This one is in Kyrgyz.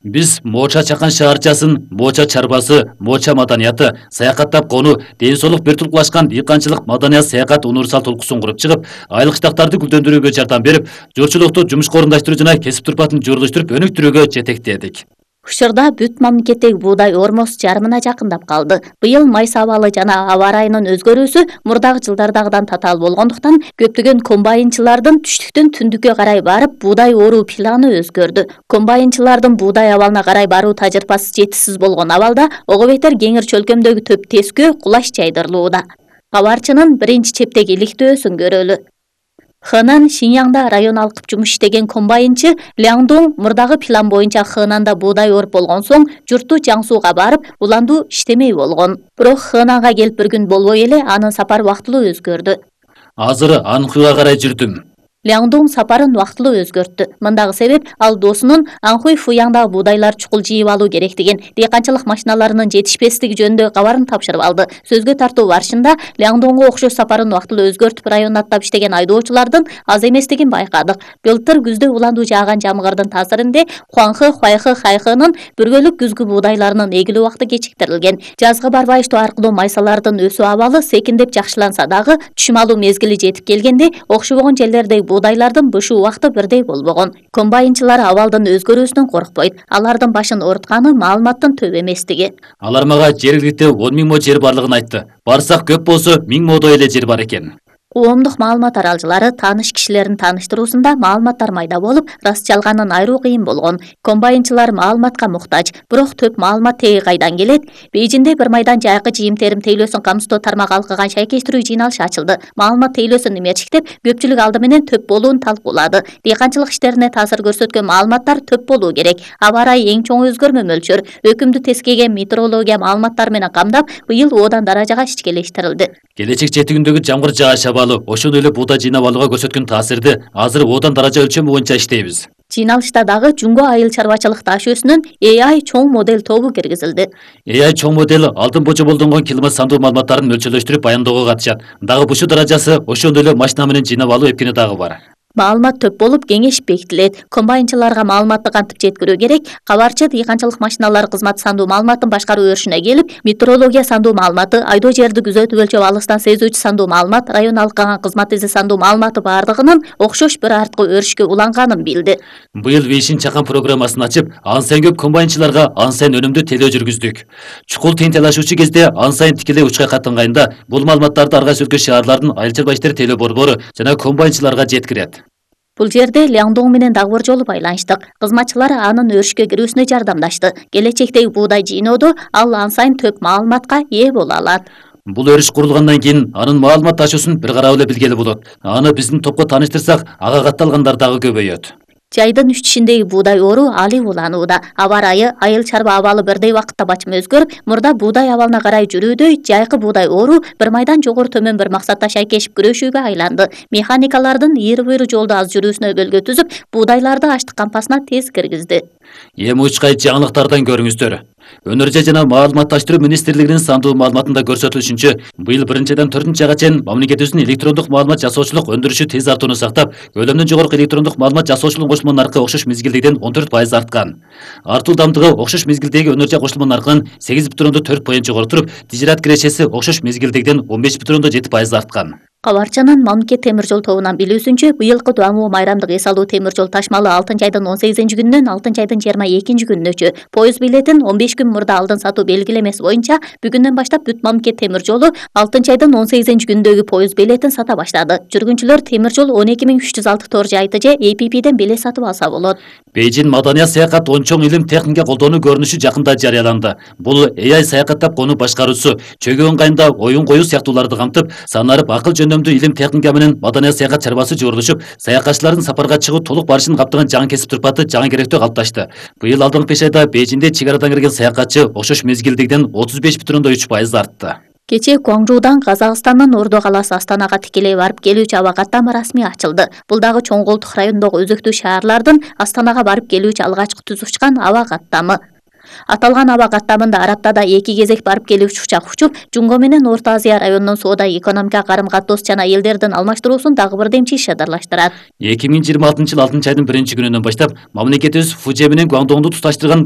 Биз Моча чакан шаарчасын, Моча чарбасы, Моча маданияты, саякаттап кону, ден соолук бир тулкулашкан дыйканчылык маданият саякат универсал толкусун куруп чыгып, айлык штаттарды гүлдөндүрүүгө жардам берип, журчулукту жумушка орундаштыруу жана кесип турпатын журулуштуруп өнүктүрүүгө жетектедик. Учурда бүт мамлекеттеги буудай ормосу жарымына жакындап калды. Быйыл майса абалы жана аба ырайынын өзгөрүүсү мурдагы жылдардагыдан татаал болгондуктан көптөгөн комбайнчылардын түштүктөн түндүккө карай барып буудай оруу планы өзгөрдү. Комбайнчылардын буудай абалына карай баруу тажрыйбасы жетишсиз болгон абалда ого бетер кеңир чөлкөмдөгү төп тескөө кулаш жайдырылууда. Кабарчынын биринчи чептеги иликтөөсүн көрөлү. Хэнан Шиньяңда район алкып жумуш иштеген комбайнчы Ляңдуң мурдагы план боюнча Хэнанда буудай оруп болгон соң журтту Жаңсууга барып уландуу иштемей болгон. Бирок Хэнанга келип бир күн болбой эле анын сапары убактылуу өзгөрдү. Азыр Анхуйга карай жүрдүм. Ляңдуң сапарын убактылуу өзгөрттү. Мындагы себеп ал досунун Анхуй Фуяңдагы буудайлар чукул жыйып алуу керектигин, дыйканчылык машиналарынын жетишпестиги жөнүндө кабарын тапшырып алды. Сөзгө тартуу барышында Ляңдуңго окшош сапарын убактылуу өзгөртүп районду аттап иштеген айдоочулардын аз эместигин байкадык. Былтыр күздө уландуу жааган жамгырдын таасиринде Хуаңхы, Хуайхы, Хайхынын бүргөлүк күзгү буудайларынын эгилүү убакыты кечиктирилген. Жазгы барбай иштөө аркылуу майсалардын өсүү абалы секиндеп жакшыланса дагы түшүм алуу мезгили жетип келгенде окшобогон жерлердеги буудайлардын бышуу убакыты бирдей болбогон. Комбайнчылар абалдын өзгөрүүсүнөн коркпойт. Алардын башын оорутканы маалыматтын төп эместиги. Алар мага жергиликте 10 000 мо жер барлыгын айтты. Барсак көп болсо 1000 модой эле жер бар экен. Коомдук маалымат аралжылары тааныш кишилерин тааныштыруусунда маалыматтар майда болуп, раст жалганын айыруу кыйын болгон. Комбайнчылар маалыматка муктаж, бирок төп маалымат теги кайдан келет? Бейжинде бир майдан жайкы жыйым-терим тейлөөсүн камсыздоо тармагы алкыган шайкештирүү жыйналышы ачылды. Маалымат тейлөөсүн эмерчиктеп, көпчүлүк алды менен төп болуун талкуулады. Дыйканчылык иштерине таасир көрсөткөн маалыматтар төп болуу керек. Аба ырайы эң чоң өзгөрмө мөлчөр. Өкүмдү тескеген метеорология маалыматтары менен камдап, быйыл одан даражага ичкелештирилди. Келечек жетигиндеги жамгыр жааш абалы ошондой эле буудай жыйнап алууга көрсөткөн таасирди азыр одан даража өлчөмү боюнча иштейбиз. Жыйналышта дагы Жунго айыл чарбачылык таш өсүнүн AI чоң модель тобу киргизилди. AI чоң модель алдын божомолдонгон килимат сандуу маалыматтарын мөлчөрлөштүрүп баяндоого катышат. Дагы бушу даражасы ошондой эле машина менен жыйнап алуу эпкени дагы бар. Маалымат төп болуп кеңеш бекитилет. Комбайнчыларга маалыматты кантип жеткирүү керек? Кабарчы дыйканчылык машиналары кызматы сандуу маалыматтын башкаруу өрүшүнө келип, метеорология сандуу маалыматы, айдоо жерди күзөтүп өлчөп алыстан сезүүчү сандуу маалымат, район алкаган кызмат изи сандуу маалыматы бардыгынын окшош бир арткы өрүшкө уланганын билди. Быйыл Вишин чакан программасын ачып, ан сайын көп комбайнчыларга ан сайын өнүмдүү тейлөө жүргүздүк. Чукул тыйын талашуучу кезде ан сайын тикелей учкай каттанганда бул маалыматтарды ар кайсы өлкө шаарлардын айыл чарба иштери тейлөө борбору жана комбайнчыларга жеткирет. Бул жерде Ляңдуң менен дагы бир жолу байланыштык. Кызматчылар анын өрүшкө кирүүсүнө жардамдашты. Келечектеги буудай жыйноодо ал ан сайын төп маалыматка ээ боло алат. Бул өрүш курулгандан кийин анын маалымат ташуусун бир карап эле билгели болот. Аны биздин топко тааныштырсак, ага катталгандар дагы көбөйөт. Жайдын үч-тишиндеги буудай ору али уланууда. Аба ырайы, айыл чарба абалы бирдей убакытта бачым өзгөрүп, мурда буудай абалына карай жүрүүдөй жайкы буудай ору бир майдан жогору төмөн бир максатта шайкешип күрөшүүгө айланды. Механикалардын ийри-буйру жолду аз жүрүүсүнө өбөлгө түзүп, буудайларды аштык кампасына тез киргизди. Эми учкай жаңылыктардан көрүңүздөр. Өнөр жана маалыматташтыруу министрлигинин сандуу маалыматында көрсөтүлүшүнчө, быйыл 1-4 айга чейин мамлекетибиздин электрондук маалымат жасоочулук өндүрүшү тез артууну сактап, көлөмдөн жогорку электрондук маалымат жасоочулук кошулма наркы окшош мезгилдегиден 14% арткан. Артуу дамдыгы окшош мезгилдеги өнөр жай кошулма наркынын 8,4% жогору туруп, тижират кирешеси окшош мезгилдегиден 15,7% арткан. Кабарчанын мамлекет темир жол тобунан билүүсүнчө, быйылкы Дуамуу майрамдык эс алуу темир жол ташмалы 6-айдын 18-күнүнөн 6-айдын 22-күнүнөчү. Поезд билетин 15 күн мурда алдын сатуу белгилемеси боюнча бүгүндөн баштап бүт мамлекет темир жолу 6-айдын 18-күнүндөгү поезд билетин сата баштады. Жүргүнчүлөр темир жол 12306 тор жайты же APP-ден билет сатып алса болот. Бейжин маданият саякат ончоң илим техника колдонуу көрүнүшү жакында жарыяланды. Бул AI саякаттап кону башкаруусу, чөгүү ыңгайында оюн коюу сыяктууларды камтып, санарып акыл жөндөмдүү илим техника менен маданият саякат чарбасы журулушуп, саякатчылардын сапарга чыгуу толук барышын каптаган жаңы кесип турпаты жаңы керектөө калыпташты. Быйыл алдыңкы 5 айда Бейжинде чек арадан кирген саякатчы окшош мезгилдегиден 35,3% артты. Кечээ Гуаңжуудан Казакстандын Ордо каласы Астанага тикелей барып келүүчү аба каттама расмий ачылды. Бул дагы чоң колдук райондогу өзөктүү шаарлардын Астанага барып келүүчү алгачкы түз учкан аба каттамы. Аталган аба каттамында Араптада 2 кезек барып келүүчү учак учуп, Жунго менен Орто Азия районунун соода экономика карым-катоос жана элдердин алмаштыруусун дагы бир демчи шыдырлаштырат. 2026 жыл 6-айдын 1-күнүнөн баштап мамлекетибиз Фужи менен Гуаңдоңду туташтырган